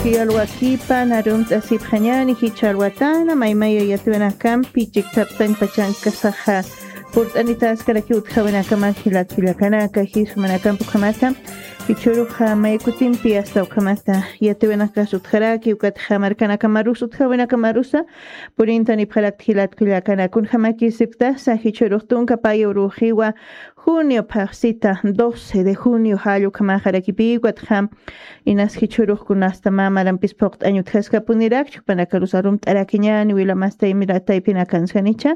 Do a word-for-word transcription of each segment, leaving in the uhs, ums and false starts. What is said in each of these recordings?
Yalwakipan arumt'asipxañäni jichha alwatana maymaya yatiwinakampi chikthaptañ pachankasaxa purt'anitaskarakiw utjawinakaman jilatkullakanaka jisumanakampi ukhamata. Jichhüruxa maykutimpi asta ukhamata yatiwinakas utjaraki ukatxa markanakamarus utjawinakamarusa purintanipxarakta jilatkullakanaka. Kunjamakisipktasa jichhürux tunka paya uruxiwa junio phaxsita doce de junio jall ukhamaxarakipiw ukatxa inas jichhürux kunasta mä marampis phuqt'añ utjaskapunirakchi jupanakarus arumt'arakiñäni wilamastay mirataypinakansa janicha.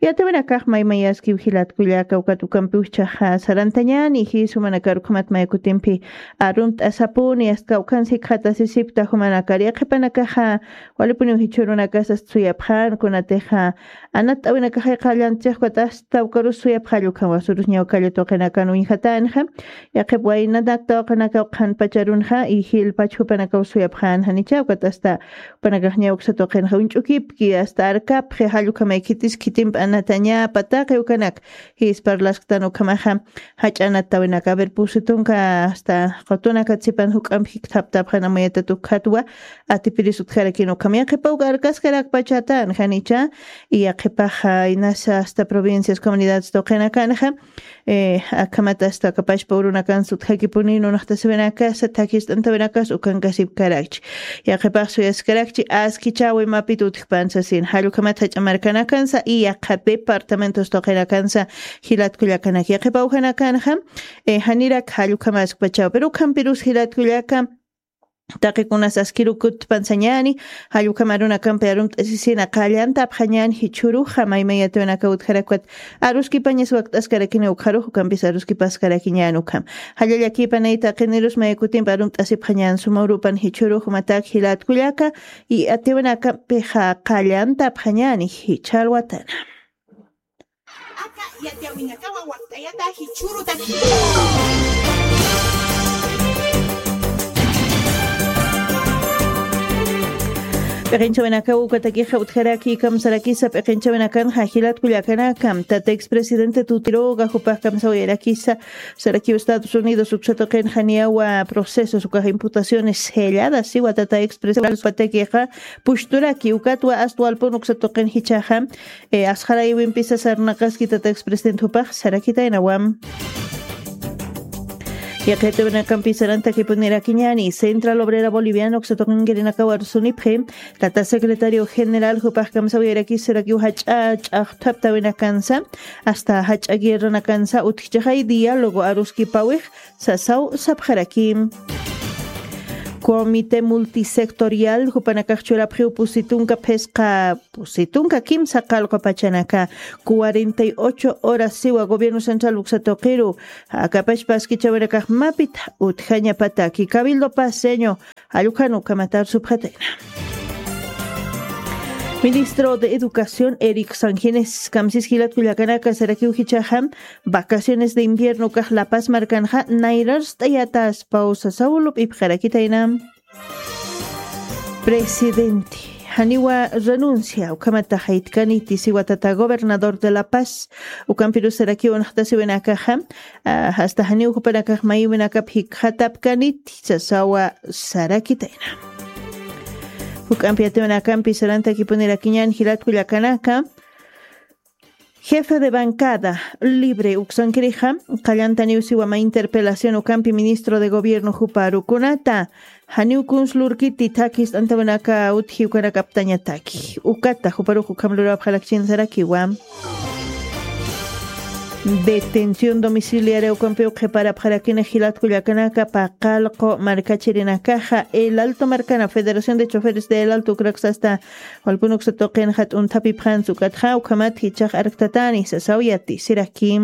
Yatiwinakax maymayaskiw jilatkullaka ukat ukampiw jichhaxa sarantañäni jis jumanakar ukhamat maykutimpi arumt'asapuni asta kawkhansa jikxatasisipkta jumanakar yaqhipanakaxa walipuniw jichhürunakas asta suyapxän kunatixa anatt'awinakaxay qallantchix ukat asta ukarus suyapxalla ukham wasurus ñawkalla tuqinakan uñjatänxa. Yaqhip waynanakta uqinakaw qhanpacharunxa y jilpach jupanakaw suyapxän janicha ukat asta jupanakax ñawksa tuqinxa uñch'ukipki asta arkapxi jall ukhamay khitis khitimp anatañäpa taqi ukanak jis parlasktan ukhamaxa jach'a anatt'awinaka a ver pusi tunka asta qutunakatsipan juk'amp jikthaptapxan amuyatat ukhatwa atipiris utjarakin ukham yaqhipaw arkaskarakpachatan janicha. Y yaqhipaxa inasa asta provincias comunidades tuqinakanxa akhamat asta kapachpa urunakansa utjakipuni nunaxtasiwinakasa thakist'antawinakas ukankasipkarakchi. Yaqhipax suyaskarakchi askichäwi mapit utjpan sasin jall ukhamat jach'a markanakansa y yaqha departamentos tuqinakansa jilatkullakanaka yaqhipa ujanakanxa janirak jall ukhamaskpachäw pero ukhampirus jilatkullaka taqikunas askirukutpansañäni. Jall ukham arunakampi arumt'asisina qallantapxañäni jichhüruxa maymay yatiwinakaw utjarak ukat aruskipañas wakt'askarakini ukxarux ukampis aruskipaskarakiñäni ukham. Jallallakïpanay taqinirus maykutimp arumt'asipxañäni suma urupan jichhürux jumatak jilatkullaka y yatiwinakampixa qallantapxañäni jichha alwatana. Aka yatiyawinakawa wakt'ayata jichhürutaki. P'iqinchawinakaw ukatakixa utjaraki kamsarakisa p'iqinchawinakanxa jilatkullakanakam tata expresidente tutiroga jupax kamsawayarakisa sarakiw Estados Unidos uksatuqinxa niyawa procesos ukax imputaciones selladas siwa tata expresidente patakixa pushturaki ukatwa astwalpun uksatuqin jichhaxa asxarayiwimpisa sarnaqaski tata expresidente jupax sarakitaynawam. Yaqhitawinakampi sarantakipunirakiñani central obrera boliviana uksatuqinkirinakawa rusunipxi tata secretario general jupax kamsawiyarakisirakiw jach'a ch'axthaptawinakansa asta jach'a guerranakansa utjchixay diálogo aruskipawix sasaw sapxaraki. Comité multisectorial jupanakax churapxiw pusitunka phisqa pusitunka kimsa qallqu pachanaka cuarenta y ocho horas siwa gobierno central uksatuqiru akapachpa askichawinakax mapit utjañapataki cabildo paseño allukhan ukhamatar supxatayna. Ministro de educación eric sanjines kamsis jilatkullakanaka sarakiw jichhaxam vacaciones de invierno ukax lapas markanxa nayrarst'ayatas pawsa sawlup'ipxarakitayna. Presidente janiwa renuncia ukhamataxaytkaniti siwa tata gobernador de la paz ukampirusarakiw unaxtasiwinakaxa hasta janiw jupanakax mayiwinakap jikxatapkaniti sasawa sarakitayna. Juk'ampi yatiwinakampi sarantakipunirakiñan jilatkullakanaka jefe de bancada libre uksankirixa qallantaniw siwama interpelación ukampi ministro de gobierno juparukunata janiw kunslurkiti thakist'antawinaka utji ukanakaptañataki ukata juparux ukham lurawapxarakchinsarakiwa. Detención domiciliaria ukampiw qhiparapxarakini jilatkullakanaka paqallqu markachirinakaxa el alto markana federación de choferes de el alto ukraksasta walpun uksa tuqin jat'unthapipxansa ukatxa ukhamat jichhax arktatani sasaw yatisiraki.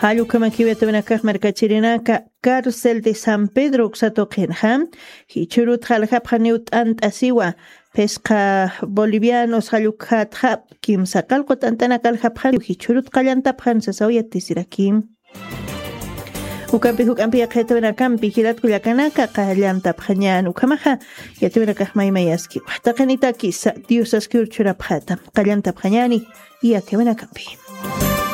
Jall ukhamakiw yatiwinakax markachirinaka cárcel de san pedro uksa tuqinxa jichhürut jaljapxaniw t'ant'asiwa phisqa bolivianos jall ukhatxap kimsa qallqu t'ant'anak aljapxaniw jichhürut qallantapxan sasaw yatisiraki. Ukampi juk'ampi yaqhitawinakampi jilatkullakanaka qallantapxañän ukhamaxa yatiwinakax maymayaskiwa taqinitakisa diosaskiw churapxata qallantapxañäni. Yatiwinakampi